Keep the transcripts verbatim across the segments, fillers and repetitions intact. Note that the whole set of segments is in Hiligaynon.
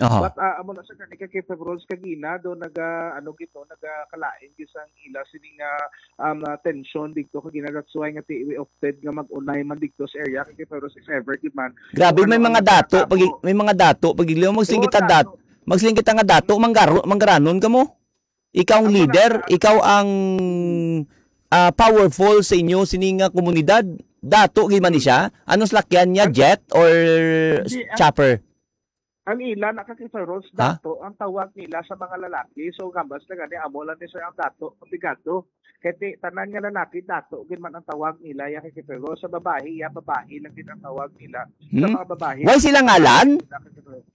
Aha. But, ah, amo na sa gani, Ka Kefe Ros, kagina do naga, ano gid, no, nagakalain gid sang ila sini nga, um, ah, tensyon dito kagina. That's why nga ti, we opted nga mag-unay man dito sa area, Ka Kefe Ros, if ever gid man. Grabe, kung may ano mga ang dato, pag, natabo. May mga dato, pag iliw, magsiling Oo, kita dato. Dat-, magsiling kita nga dato, manggaro-, manggaranon ka mo. Ikaw ang Amo na leader, sa ikaw ang, ah, powerful sa inyo, sini nga komunidad. Dato gid man ni siya. Anong salakyan niya? Ang Jet or Hindi, ang chopper? Ang ila na, Ka Kefe Ros, Ha? Dato ang tawag nila sa mga lalaki. So, gambas na gani, amo lang ni sir ang dato, komplikado. Kay ti-, tanan nga lalaki, dato gid man ang tawag nila, ya, Ka Kefe Ros. Sa babae, ya, babae lang gid ang tawag nila. Sa Hmm? Mga babae, Why sila ngalan? Ka Kefe Ros.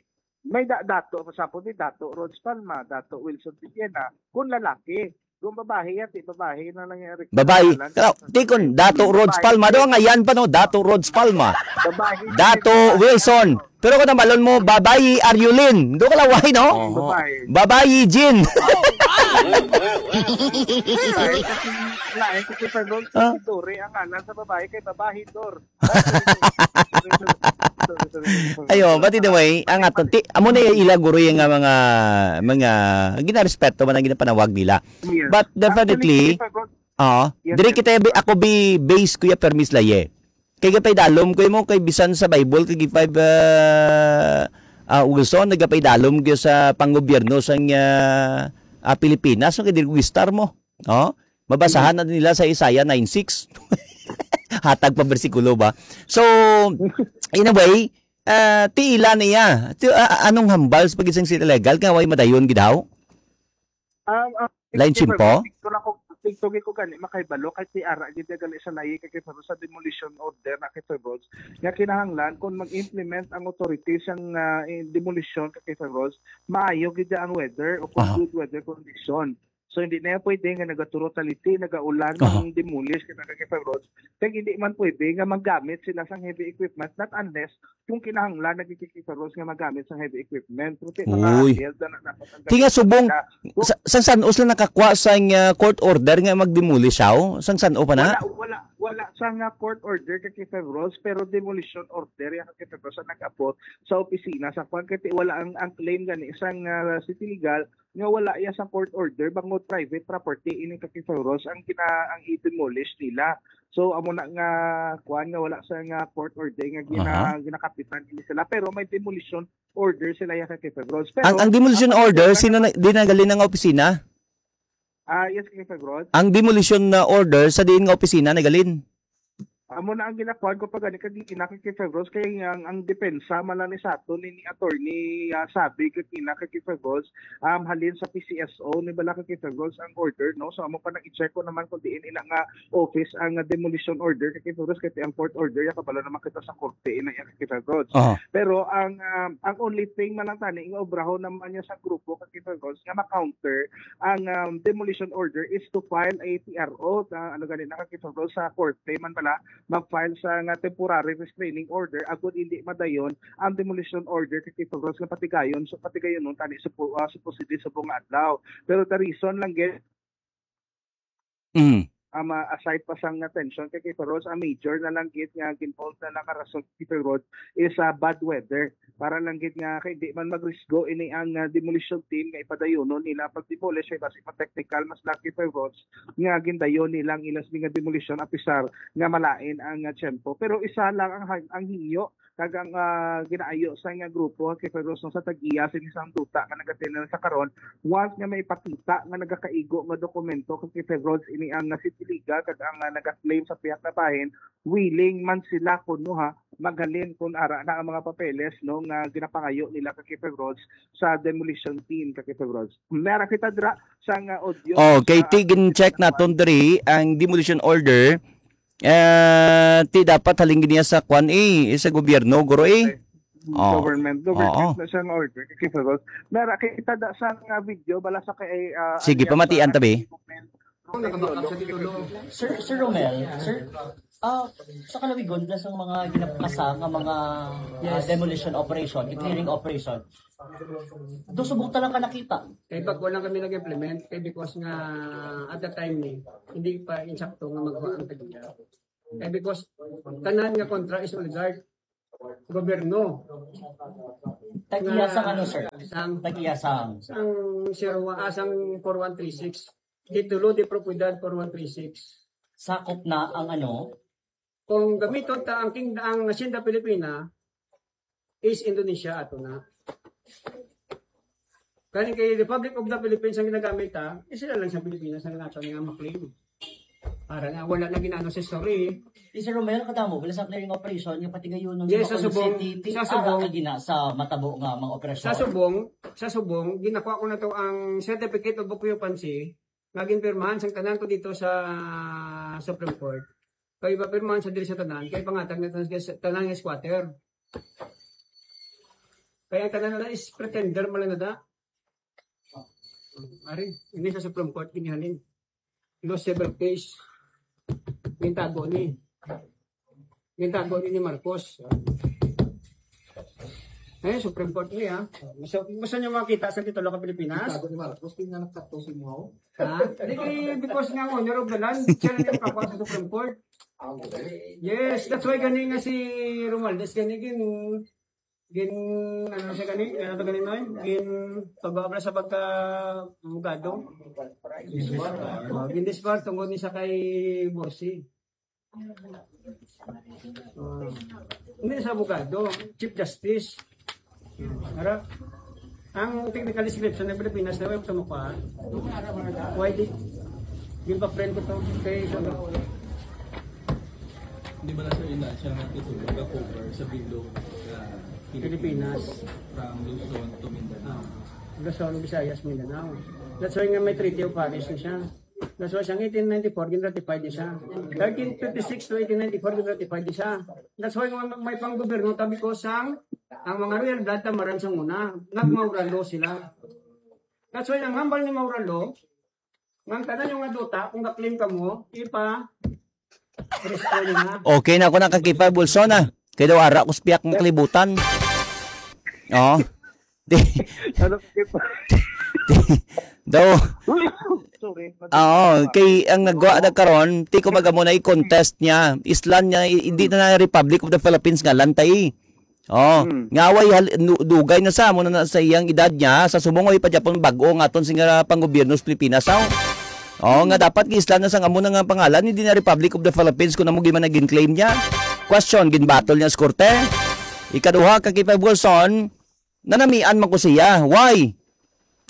May da-, dato, for example, ni Dato Rhodes Palma, Dato Wilson Villena, kung lalaki. Kung babae yan, ti babae na lang yung Babae. Kaya, ti kun, Dato Rhodes Palma. Daw, ngayon pa, no? Dato Rhodes Palma. Babae. Dato Wilson. Pero kung nabalon mo, babae, Arjulin. Doon ka laway, no? Oo. Babae. Babae, Jean. Lain kasi, lain kasi pag Ah. Dore ang anak sa babae kay babae, Dor. Ayo, but anyway, ang aton, ti-, amo na yung ila guro yung nga mga, mga ginarespeto man ang ginapanawag nila. Yes. But definitely, Actually, Ka Kefe Ros, oo, yes, diri sir. Kita bi-, ako bi base, Kuya Permis Laye. Kay gapay dalom ko mo, kay bisan sa Bible, kay five, ah, ah, Wilson, nagapay dalom ko sa panggobyerno sang, ah, ah, Pilipinas, so kay diri ko gistar mo. Oh, mabasahan na nila sa Isaiah nine six. Hatag pa bersikulo ba? So, in a way, ah, tiila niya. Ti-, ah, ah, anong hambal sa pag-isang sila legal? Nga way madayon gid haw? Um, um, Lain simpo? Tikto lang ko, tikto gid ko gani makahibalo kay ti ara gid gani sa layi, Ka Kefe Ros, sa demolition order na, Ka Kefe Ros, nga kinahanglan kung mag-implement ang authority sang, ah, eh, demolition, Ka Kefe Ros, maayo gid ang weather o kung Aha. Good weather condition. So, hindi na yan pwede nga nagaturo taliti, nagaulan Aha. Ang demolish, kita, Ka Kefe Ros. Kaya hindi man pwede nga maggamit sila sang heavy equipment, not unless kung kinahanglan na, Ka Kefe Ros, nga maggamit sang heavy equipment. Pero ti mga Uy. Held na, na, na, Ti nga subong, nila. Kung sa, sa san-o sila nakakuha sa, uh, court order nga mag-demolish siya? Sang san-o pa na? Wala, wala, wala sa nga court order, Ka Kefe Ros, pero demolition order yan, Ka Kefe Ros, ang nag-abot sa opisina sa kwan. Kasi wala ang, ang claim gani isang, ah, city legal nga wala iya sa court order, bangod private property ini, Ka Kefe Ros, ang gina-, ang i-demolish nila. So, amo na nga, kwan, nga wala sa nga court order nga gina-, Aha. Ginakapitan ini sila. Pero may demolition order sila, ya, Ka Kefe Ros. Pero Ang, ang demolition ang order, sino na, di nagalin ang opisina? Ah, yes, Ka Kefe Ros. Ang demolition na order sa diin nga opisina nagalin? Amo na ang ginakuan ko pa gani kag ina, Ka Kefe Ros, kay ang, ang depensa man lang ni sa aton ni, ni attorney, ah, Sabi kag ina, Ka Kefe Ros, um, halin sa P C S O ni bala, Ka Kefe Ros, ang order, no? So, amo pa nang i-check ko naman kung diin ila nga office ang, ah, demolition order, Ka Kefe Ros, kay ang court order, ya kabalo naman kita sa korte, ina, ya, Ka Kefe Ros. Aha. Pero ang, um, ang only thing man lang tani, nga obrahon naman niya sa grupo, Ka Kefe Ros, nga ma-counter ang, um, demolition order is to file a T R O, ah, ano gani na, Ka Kefe Ros, sa korte man bala, mag-file sa nga temporary restraining order, agud hindi madayon ang demolition order, Ka Kefe Ros, nga patigayon, so patigayon nun tani sa pu-, ah, supposedly sa bunga adlaw. Pero the reason lang gid, Mm. um, ah, aside pa sang attention, Ka Kefe Ros, ang major na lang gid nga ginvolve na lang nga rason, Ka Kefe Ros, is, ah, bad weather. Para lang gid nga kay di man magrisgo ini ang, ah, demolition team nga ipadayonon nila ang pag-demolish, kay basi pa technical, mas lucky, Ka Kefe Ros, nga gindayon nila ang ilas nga demolition, apisar nga malain ang, ah, tiyempo. Pero isa lang ang ha-, ang hingyo kag ang, ah, ginaayo sa nga grupo, Ka Kefe Ros, no, sa tag-iya sini sang duta nga nagatinan sa karon, once nga maipakita nga nagakaigo nga dokumento, Ka Kefe Ros, ini ang, ah, city legal kag ang, ah, nagaklaim sa pihak na bahin, willing man sila kuno, ha, maghalin kun ara na ang mga papeles, no, nga ginapangayo nila, Ka Kefe Ros, sa demolition team, Ka Kefe Ros. Meron kita dira sa nga audio. Oh, kay sa ti gin-check naton diri ang demolition order. Eh, ti dapat halin gid niya sa kwan, eh, sa gobyerno, guro, eh. Okay. Oh. Government. Government Oo. Na siya nga order, Ka Kefe Ros. Meron kita da sa nga video, bala sa kay, ah, Sige, ano yan, pamatian sa tabi. Kung nakabakak sa titulo. Sir, Sir Romel, sir, ah, sa kalawigon na sa mga ginapakasa nga mga, ah, Yes. Demolition operation, clearing operation, do subong ta lang ka nakita. Kay bago lang kami nag-implement, kay because nga at the time ni, hindi pa insakto nga magawa ang tag-iya. Kay because tanan nga kontra is oligarch. gobyerno. Tag-iya sang ano, sir? Sang, Tag-iya sang sang Sirwa, ah, sang four one three six. Titulo de Propiedad four one three six. Sakop na ang ano? Kung gamiton ta ang king-, ang Hacienda Filipina is Indonesia ato na. Kani kay Republic of the Philippines ang ginagamit, ha? Eh, sila lang sa Pilipinas ang nato nga maklaim. Para nga wala na ginano sa story. Di, Sir Romel, kadamo bala sa clearing operation nga pati gayon Yes, sa sa Subong, City, ti-, sa ah, Subong. Kagina sa matabo nga mga operasyon. Sa Subong, sa Subong, ginakuha ko na to ang certificate of occupancy nga ginpirmahan sang tanan ko dito sa Supreme Court. Kay ipapirmahan sa diri sa tanan, kay pangatag na tanan sa tanan nga squatter. Kaya ang tanan na is pretender man lang na da. Ari, ini sa Supreme Court, ginihalin. Lost civil case. Gintago ni. Gintago ni ni Marcos. Eh, Supreme Court ni, ha? Gusto, gusto niyo makita sa titulo ka Pilipinas? Tago ni Marcos, tingnan ang kato si Muhaw. Ha? Di kay, because nga, owner of the land, siya lang yung kakuha sa Supreme Court. Ah, okay. Yes, that's why gani nga si Romualdez, gani gin, gin, ano siya gani? Ano to gani, Noy? Gin, pag-obra sa pagka abogado. Oh, gin disbar tungod ni sa kay Borsi. Ah, hindi sa abogado, Chief Justice. Ara, ang technical description ng Pilipinas na web tumukuha. Why di? Yung pa-friend ko to. Kay, so, Di ba nasa ina siya nga titulo nga cover sa bilog sa Pilipinas. Pilipinas. From Luzon to Mindanao? Ah, Luzon, Visayas, Mindanao. That's why nga may Treaty of Paris na siya. That's why sang eighteen ninety-four, gin-ratified ni siya. Thirteen fifty-six to eighteen ninety-four, gin-ratified ni siya. That's why nga may panggobyerno, tabi ko sang, ang mga royal blood tamaran sa una, nag-Maura law sila. That's why ang hambal ni Maura law, nga ang tanan yung nga duta, kung ga-claim ka mo, ipa, restore na. Okay na ako nakakipag bulso na. Kaya daw ara ko sa piyak ng kalibutan. Oh. Di, Ano, daw, Sorry. Oo, kay ang nagwa na karon, ti ko magamo na i-contest niya. Island niya, i-, hindi na na Republic of the Philippines nga lantay. Oh, Hmm. nga way hal-, nu-, dugay na sa amo na, na sa iyang edad niya, sa subong way pa Japon bag-o nga aton sing, ah, panggobyerno sa Pilipinas, aw. Oh, nga dapat giisla na sa amo na nga pangalan, hindi na Republic of the Philippines kung amo gyud man ang gin-claim niya. Question, ginbatol niya sa korte. Ikaduha, ka Kipay Wilson, nanamian man ko siya. Why?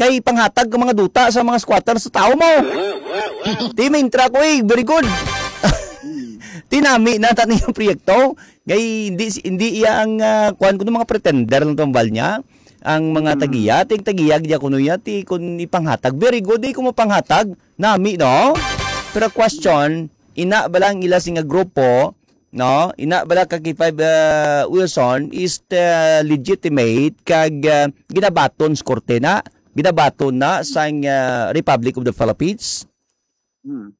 Kay panghatag ka mga duta sa mga squatter sa tao mo. Ti, may intra ko, eh. Very good. Tinami na tani yung proyekto. Kay hindi, hindi iya ang, ah, kuwan ko ng mga pretender ng tambal niya. Ang mga Hmm. tagiya, ting tagiya, gya kuno iya, ti kun ipanghatag. Very good, di ko mapanghatag. Nami, no? Pero question, ina ba lang ila sing grupo, no? Ina bala ka K five, uh, Wilson is, uh, legitimate kag, uh, ginabaton sa korte na, ginabaton na sang, uh, Republic of the Philippines? Hmm.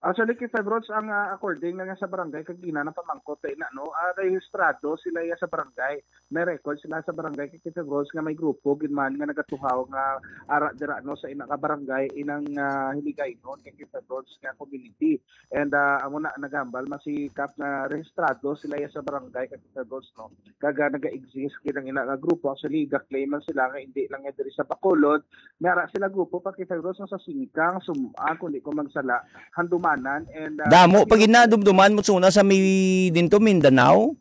Actually, K five Rods, ang, uh, according na nga sa barangay, kag ina ng pamangkot, eh, na, no? Ah, rehistrado sila iya sa barangay. May record sila sa barangay, kag K five Rods, nga may grupo gid man nga nagatuhaw nga ara dira, no, sa ina ka barangay, inang, ah, Hiligaynon, kag K five Rods nga community. And, ah, amo na, naghambal man si Kap nga rehistrado sila iya sa barangay, kag K five Rods, no? Kag, ah, naga-exist gid ang ina nga grupo. Actually, ga-claim man sila nga hindi lang nga diri sa Bacolod, may ara sila grupo pa, K five Rods, nga sa Singkang, Sum-an, kung di ko magsala, Handumanan, and, ah, Damo pa gid na, dumduman mo suna sa may dinto, Mindanao.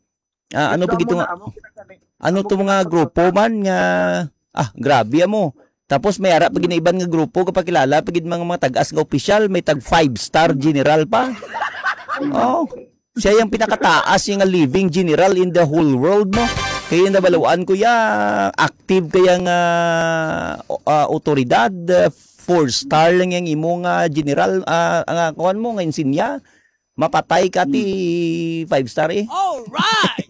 Ah, ano pa Ito gito amo nga, na, amo kinagani. ano Amo to mga kinagani. grupo man nga, ah, grabe amo. Tapos may ara pa gid na iban nga grupo, kapakilala pa gid mga, mga tag-as nga opisyal, may tag five star general pa. Oh, siya yung pinakataas yung living general in the whole world mo. Kaya yung nabaluan ko ya, active kaya nga, o-, ah, otoridad, ah, four star lang yung imo nga general, ah, nga kuwan mo, nga insinya. Mapatay ka ti Hmm. five star eh. Alright!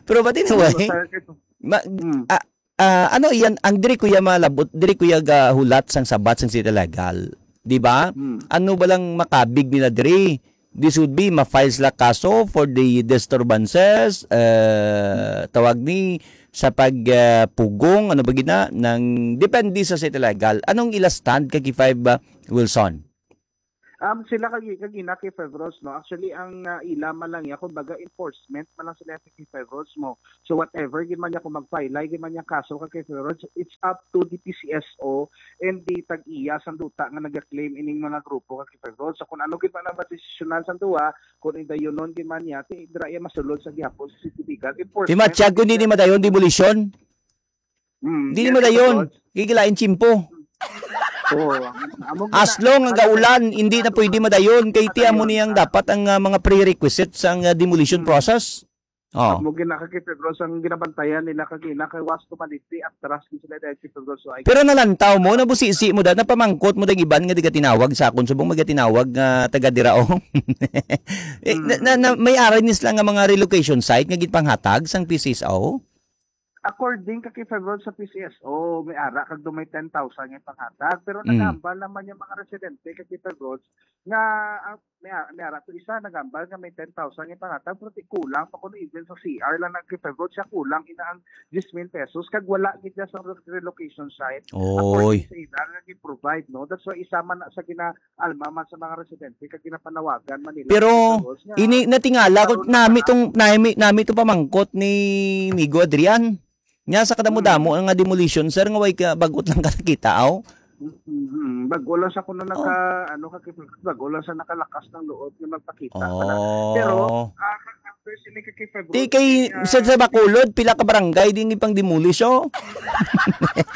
Pero ba't anyway? Pero sa Ma-, Hmm. ah, ah, ano iyan, ang diri ko ya malabot, diri ko ya gahulat sang sabat sang City Legal. Di ba? Hmm. Ano ba lang makabig nila diri? This would be, ma-file sila kaso for the disturbances, eh, tawag ni, sa pag, eh, pugong, ano ba gina, ng depende sa City Legal. Anong ila stand ka K five, ah, Wilson? Um, sila kag, kag ina kay Fevros, no? Actually, ang, ah, ila man lang ya, kumbaga, enforcement man lang sila kay Fevros mo. So, whatever gid man niya, kung magpailay gid man niya kaso ka kay Fevros, it's up to the P C S O and the tag-iya sang duta nga nagaklaim ining mga grupo ka kay Fevros. So, kung ano gid man ang madesisyonan sang duha, kung indayunon gid man niya, ti, dira iya masulod sa gihapon sa city legal enforcement. Di matsyag kung di ni madayon demolition. Hmm, Di ni yes, madayon. Fevros. Gigilain tiyempo. Oo, amo gid As na, long ang ano, gaulan, hindi na pwede madayon. Kay ti amo madayon, niyang ah. dapat ang, ah, mga prerequisites sang, ah, demolition Hmm. process. Oh. Amo gid na kay Fevros ang ginabantayan nila kag ina kay was tumaliti, atras gid sila dahil kay Fevros. So, I Pero nalantaw mo, nabusisi mo da, napamangkot mo da iban nga digatinawag sa akon, subong magatinawag nga taga dira, oh. Eh, na, na, na, Mm. may aray ni sila nga mga relocation site nga gipanghatag sang P C S O? According ka kay Fevros sa P C S O, may ara kag do may ten thousand nga panghatag. Pero Mm. nagambal naman yung mga residente kay Fevros nga, ah, may, may ara to isa, nagambal nga may ten thousand nga panghatag, pero ti kulang pa kuno even sa C R lang nag-, kay Fevros siya kulang ina ang diyes mil pesos, kag wala gid siya sa re-, relocation site. Oy. According sa ila nga gi-provide, no? That's why isa man na sa gina-, alma man sa mga residente, kag ginapanawagan man nila Pero sa Fevros nga ini natingala ko, karon nami na tong, nami, nami to pamangkot ni Migo Adrian. Nya sa kadamo-damo Mm. nga demolition, sir, nga way ka, bagot lang ka nakita, aw? Mm, mm. Bago lang sa kuno Oh. naka, ano, ka, bago lang sa nakalakas ng loob nga magpakita pala. Pero, Oh. ah, ka-, ka-, personally, kay February, Di kay, ah, sa, sa Bacolod, pila ka barangay din ipang demolish, oh?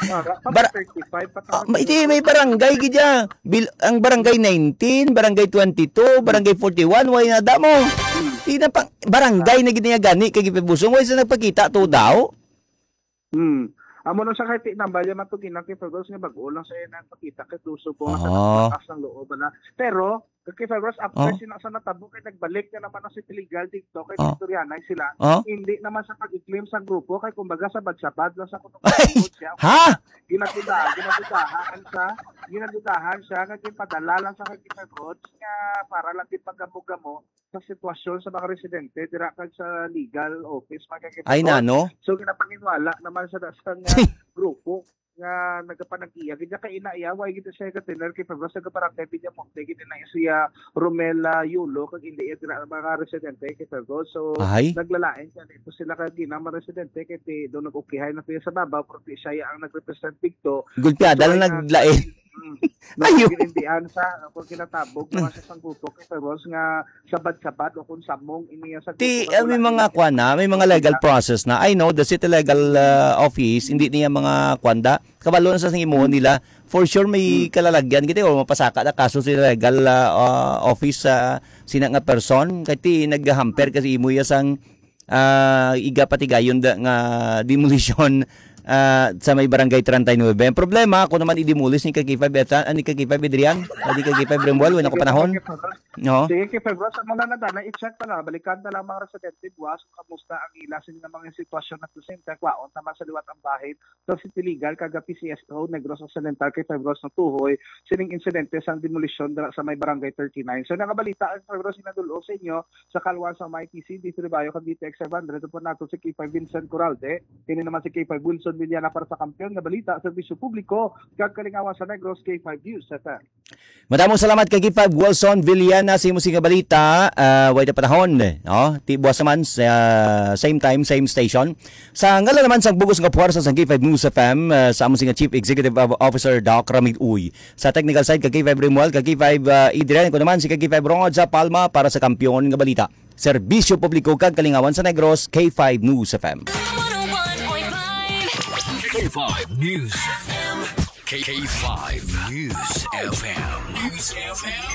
Ah, Bar- thirty-five pa Ah, tayo. may, di, may barangay gid ya. Bil-, ang barangay nineteen, barangay twenty-two, barangay forty-one, way na damo. Hmm. Di na pang, barangay na gid niya gani kay Gipibusong, way sa nagpakita to daw. Hmm. Amo na sa kay tinambal ya man to ginang kay February nga bag-o lang sa iya nagpakita kay gusto po nga Ah. taas ng loob na. Pero kay February after Oh. sina sa natabo kay nagbalik na naman ang City Legal dito kay Oh. Victorianay sila. Oh. Hindi naman sa pag-claim sa grupo kay kumbaga sa badsabad lang sa kuno Ay! siya. Ha? Ginagudahan, ginagudahan siya. Ginagudahan siya nga ginpadala lang sa kay February nga para lang din pagamo-gamo sa sitwasyon sa mga residente dira kag sa legal office, mga kakipatod. Ay, nano? So, ginapanginwala naman sa dasang nga grupo nga nagapanag-iya. Gid kay ina iya, way gid siya ka tener kay Febros, sa barangay Villamonte, gid na siya Romela Yulo, kag hindi iya dira ang mga residente kay Febros. So, Ay. naglalain siya dito sila kag ina mga residente kay ti, doon nag-ukihay na siya sa babaw, pero ti siya ang nag-represent dito. Gulpiada So, lang ay, naglain. Mm. Ayo. Nagkikirindihan sa, kung kinatabog, mga sa sanggupo, kay Febros nga sabad-sabad o kung samong iniya sa Ti, grupo, ah, may wala mga niya. kwan na, may mga legal Wala. process na. I know, the city legal, ah, office, hindi niya mga kwan da. Kabalo na sa sing imuhon Hmm. nila. For sure, may Hmm. kalalagyan kita o mapasaka na kaso sa legal, ah, ah, office sa sina nga person. Kay ti, naghamper kasi imo iya sang, ah, iga patigayon da nga demolition, ah, sa may barangay treinta y nueve. Ang problema, ako naman i-demolish ni Kaki five Eta, ah, ni Kaki five Adrian, ah, ni Kaki five Remuel, wala ko panahon. No? Sige, kay February, sa mga nadala, i-check na lang. Balikan na lang mga residente, buwas, kung kamusta ang ila, sino nga mga sitwasyon na to, same time, kwaon naman sa liwat ang bahin sa City Legal, kag P C S O, Negros Occidental, kay February, natuhoy sining insidente sang demolisyon dira sa may Barangay thirty-nine. So, nakabalita ang February, sinadulog sa inyo sa Kalwan sa may T C, D three Bayo, kag D T X five hundred, upod nato si K five Vincent Coralde, kini naman si K five Wilson Villana para sa Kampiyon nga Balita, Serbisyo Publiko, kag Kalingawan sa Negros, K five News F M. Madamong salamat kay K five Wilson Villana sa imo sing balita, ah, way na panahon, no? Ti buwas naman sa same time, same station. Sa ngalan naman sang bugos nga puwersa sang K five News F M, ah, sa amo sing Chief Executive Officer Doc Ramil Uy. Sa technical side, kay K five Remuel, kay K five, ah, Adrian, ako naman si K five Rongod sa Palma para sa Kampiyon nga Balita. Serbisyo Publiko kag Kalingawan sa Negros, K five News F M. K five News F M. K five News F M. News F M.